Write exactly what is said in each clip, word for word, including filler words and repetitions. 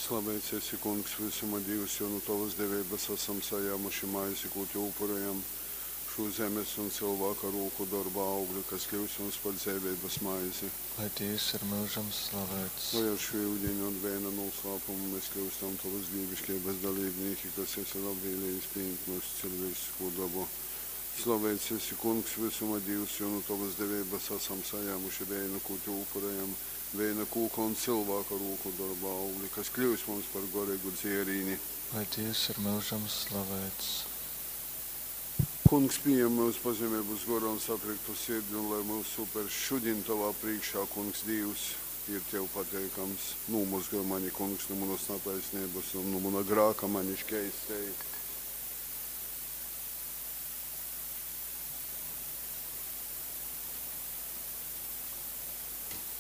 Slaveits esi, Kungs, vysuma Dīvs, jo nu tovas deveibas asam sajāmuši maizi, kū tev upurejam, šū zemes un cylvāka rūku dorba augli, kas kļyus mums par dzeiveibas maizi. Lai Dīvs ir myužam slaveits. Lai ar šū yudiņa un veina nūslāpumu mēs kļyustam tovas dīviškeibas dalībnīki, kas esi labvēlējis pījimt myusu ciļvēciskū dobu. Slaveits esi, Kungs, vysuma Dīvs, jo nu tovas deveibas asam sajāmuši veinu, kū tev upurejam, veina kūka un cylvāka rūku dorba augli, kas kļyus mums par goreigu dzierīni. Lai Dīvs ir myužam slaveits. Kungs, pījem myus pazemeibas gorā un satriktu sirdi, un lai myusu upers šudiņ tovā prīškā, Kungs, Dīvs, ir tev pateikams. Nūmozgoj mani, Kungs, nu munas nataisneibas un nu muna grāka mani škeistej.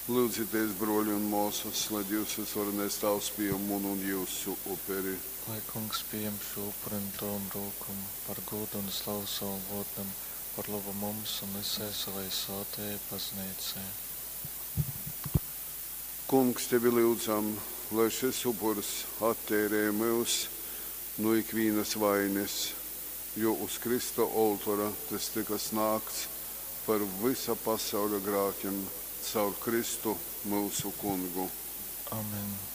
Lūdzieties, broļi un māsas, lai Dievs visvarenais Tēvs pieņem munu un jūsu uperi. Lai Kungs pieņem šo upuri no tavam rokām par godu un slavu savam vārdam, par labu mums un visai savai svētajai baznīcai. Kungs, tevi lūdzam, lai šis upurs atteirē mūs no ikvienas vainas, jo uz Krista oltora tas tika snāgts par visa pasaules grēkiem caur Kristu mūsu kungu. Amen.